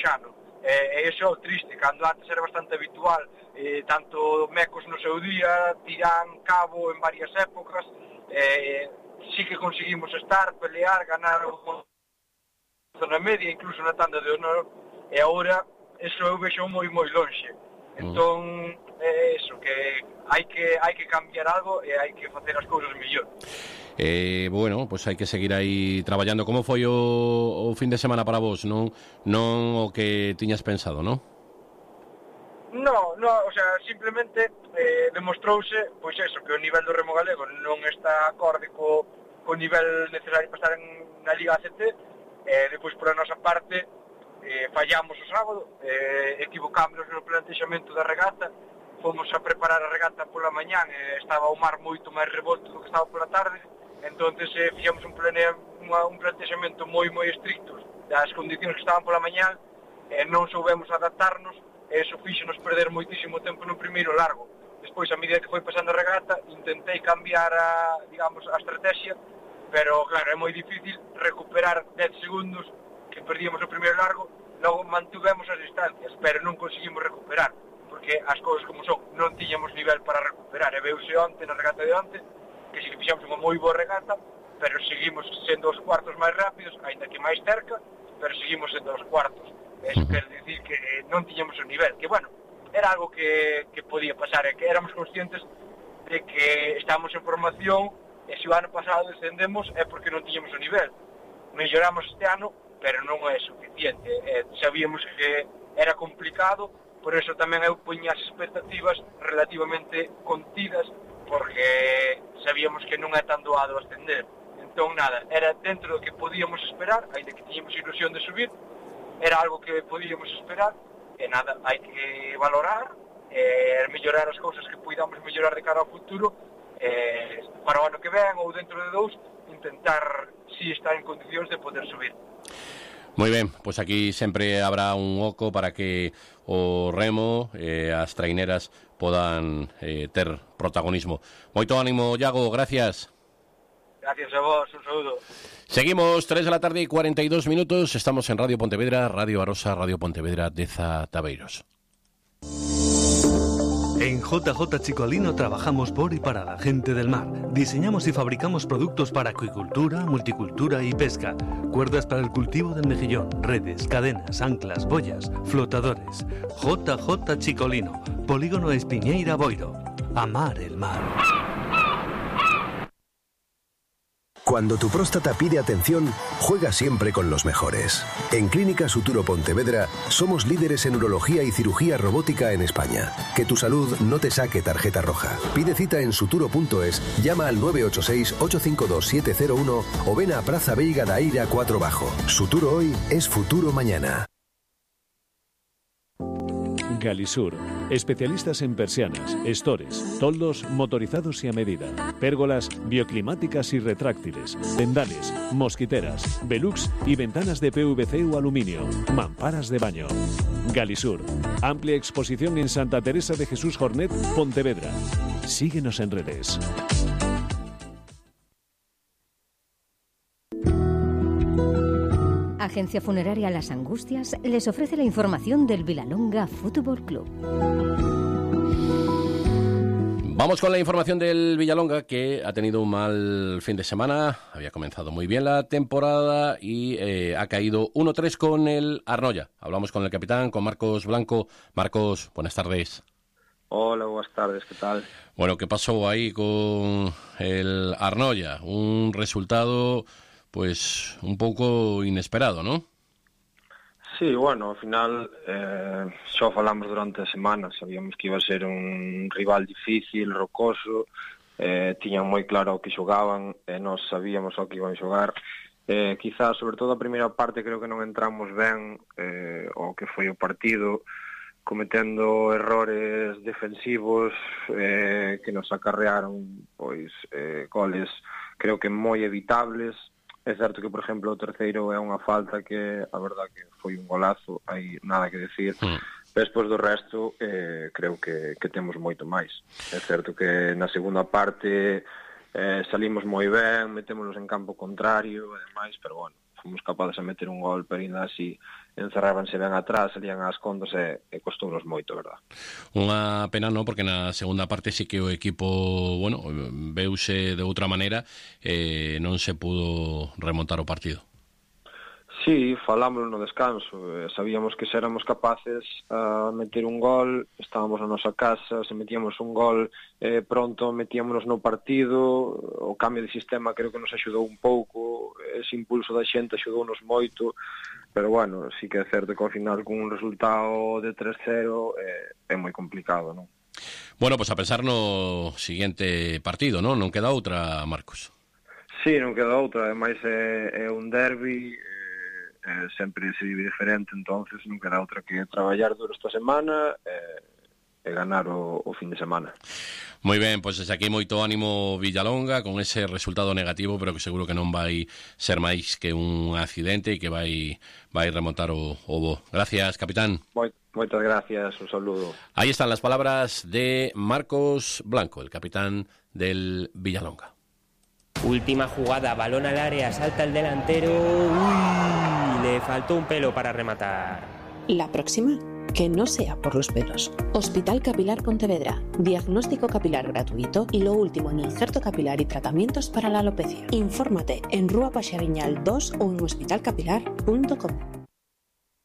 xano. E iso é o triste, cando antes era bastante habitual, tanto mecos no seu día, tirán cabo en varias épocas, sí que conseguimos estar, pelear, ganar unha zona media, incluso na tanda de honor, e agora eso eu vexo moi lonxe. Entón, eso, que hai que cambiar algo e hai que facer as cousas mellor. Bueno, pues hai que seguir aí traballando. Como foi o fin de semana para vos? Non o que tiñas pensado, non? No, o sea, simplemente demostrouse, pois eso, que o nivel do remo galego non está acorde co nivel necesario para estar na Liga ACT. Depois, por a nosa parte, fallamos o sábado, equivocámonos no plantexamento da regata, fomos a preparar a regata pola mañán, estaba o mar moito máis revolto do que estaba pola tarde, entonces fixemos un plantexamento moi estricto das condicións que estaban pola mañán, non soubemos adaptarnos, e iso fíxonos perder moitísimo tempo no primeiro largo. Despois, a medida que foi pasando a regata, intentei cambiar a estrategia, pero claro, é moi difícil recuperar 10 segundos que perdíamos o primeiro largo, logo mantuvemos as distancias, pero non conseguimos recuperar, porque as cousas como son, non tiñamos nivel para recuperar, e veuse onte na regata de onte, que si que fixamos unha moi boa regata, pero seguimos sendo os cuartos máis rápidos, aínda que máis cerca, pero seguimos sendo os cuartos. Eso quer dicir que non tiñamos o nivel, que bueno, era algo que podía pasar, e que éramos conscientes de que estábamos en formación, e se o ano pasado descendemos é porque non tiñamos o nivel. Melloramos este ano, pero non é suficiente. Sabíamos que era complicado, por eso tamén eu poñía as expectativas relativamente contidas, porque sabíamos que non é tan doado ascender. Entón, nada, era dentro do que podíamos esperar, ainda que tiñamos ilusión de subir, era algo que podíamos esperar, e nada, hai que valorar, mellorar as cousas que poidamos mellorar de cara ao futuro, para o ano que ven ou dentro de 2, intentar si estar en condicións de poder subir. Moi ben, pois aquí sempre habrá un oco para que o remo e as traineras podan ter protagonismo. Moito ánimo, Iago, gracias. Gracias a vos, un saúdo. Seguimos, 3:42 PM, estamos en Radio Pontevedra, Radio Arosa, Radio Pontevedra, Deza Tabeiros. En JJ Chicolino trabajamos por y para la gente del mar. Diseñamos y fabricamos productos para acuicultura, multicultura y pesca. Cuerdas para el cultivo del mejillón, redes, cadenas, anclas, boyas, flotadores. JJ Chicolino, Polígono Espiñeira Boiro. Amar el mar. Cuando tu próstata pide atención, juega siempre con los mejores. En Clínica Suturo Pontevedra somos líderes en urología y cirugía robótica en España. Que tu salud no te saque tarjeta roja. Pide cita en suturo.es, llama al 986-852-701 o ven a Praza Veiga da Eira 4 Bajo. Suturo hoy es futuro mañana. Galisur, especialistas en persianas, estores, toldos motorizados y a medida, pérgolas bioclimáticas y retráctiles, tendales, mosquiteras, velux y ventanas de PVC o aluminio, mamparas de baño. Galisur, amplia exposición en Santa Teresa de Jesús Jornet, Pontevedra. Síguenos en redes. Agencia Funeraria Las Angustias les ofrece la información del Vilalonga Fútbol Club. Vamos con la información del Villalonga, que ha tenido un mal fin de semana. Había comenzado muy bien la temporada y ha caído 1-3 con el Arnoia. Hablamos con el capitán, con Marcos Blanco. Marcos, buenas tardes. Hola, buenas tardes, ¿qué tal? Bueno, ¿qué pasó ahí con el Arnoia? Un resultado pues un poco inesperado, ¿no? Sí, bueno, ao final xa falamos durante a semana, sabíamos que iba a ser un rival difícil, rocoso, tiñan moi claro o que xogaban, nós sabíamos o que iban a xogar. Quizás, sobre todo a primeira parte, creo que non entramos ben o que foi o partido, cometendo errores defensivos que nos acarrearon pois goles, creo que moi evitables. É certo que, por exemplo, o terceiro é unha falta que, a verdad, que foi un golazo, hai nada que decir. Despois do resto, creo que temos moito máis. É certo que na segunda parte salimos moi ben, metémonos en campo contrario, e demais, pero, bueno, fomos capaces de meter un gol, pero ainda así encerrábanse ben atrás, salían ás contas e costounos moito, verdad. Unha pena, non? Porque na segunda parte sí que o equipo, bueno, veuse de outra maneira, non se pudo remontar o partido. Sí, falámoslo no descanso, sabíamos que se éramos capaces a meter un gol, estábamos na nosa casa, se metíamos un gol pronto metíamonos no partido, o cambio de sistema creo que nos axudou un pouco, ese impulso da xente axudounos moito, pero bueno, sí que é certo que ao final con un resultado de 3-0 é moi complicado, non? Bueno, pois a pensar no seguinte partido, non? Non queda outra, Marcos. Sí, non queda outra, ademais é un derbi, sempre se vive diferente, entonces non queda outra que traballar duro esta semana e ganar o fin de semana. Moi ben, pois desde aquí moito ánimo Villalonga con ese resultado negativo, pero que seguro que non vai ser máis que un accidente e que vai remontar o bo. Gracias, capitán. Moitas gracias, un saludo. Ahí están las palabras de Marcos Blanco, el capitán del Villalonga. Última jugada, balón al área, salta el delantero. ¡Uy! Le faltó un pelo para rematar. La próxima, que no sea por los pelos. Hospital Capilar Pontevedra. Diagnóstico capilar gratuito y lo último en injerto capilar y tratamientos para la alopecia. Infórmate en Rúa Paxariñal 2 o en hospitalcapilar.com.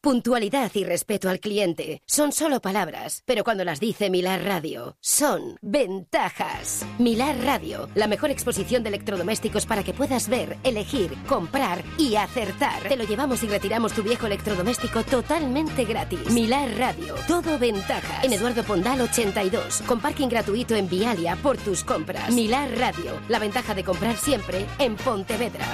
Puntualidad y respeto al cliente son solo palabras, pero cuando las dice Milar Radio, son ventajas. Milar Radio, la mejor exposición de electrodomésticos para que puedas ver, elegir, comprar y acertar. Te lo llevamos y retiramos tu viejo electrodoméstico totalmente gratis. Milar Radio, todo ventajas. En Eduardo Pondal 82, con parking gratuito en Vialia por tus compras. Milar Radio, la ventaja de comprar siempre en Pontevedra.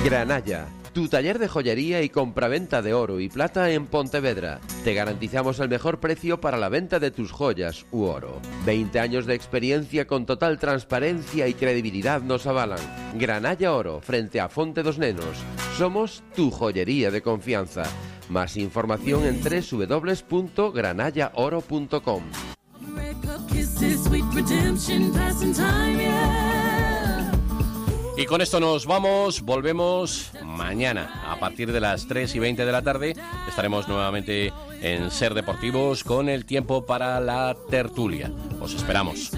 Granalla, tu taller de joyería y compraventa de oro y plata en Pontevedra. Te garantizamos el mejor precio para la venta de tus joyas u oro. 20 años de experiencia con total transparencia y credibilidad nos avalan. Granalla Oro, frente a Fonte dos Nenos. Somos tu joyería de confianza. Más información en www.granallaoro.com. Y con esto nos vamos, volvemos mañana a partir de las 3:20 de la tarde. Estaremos nuevamente en Ser Deportivos con el tiempo para la tertulia. Os esperamos.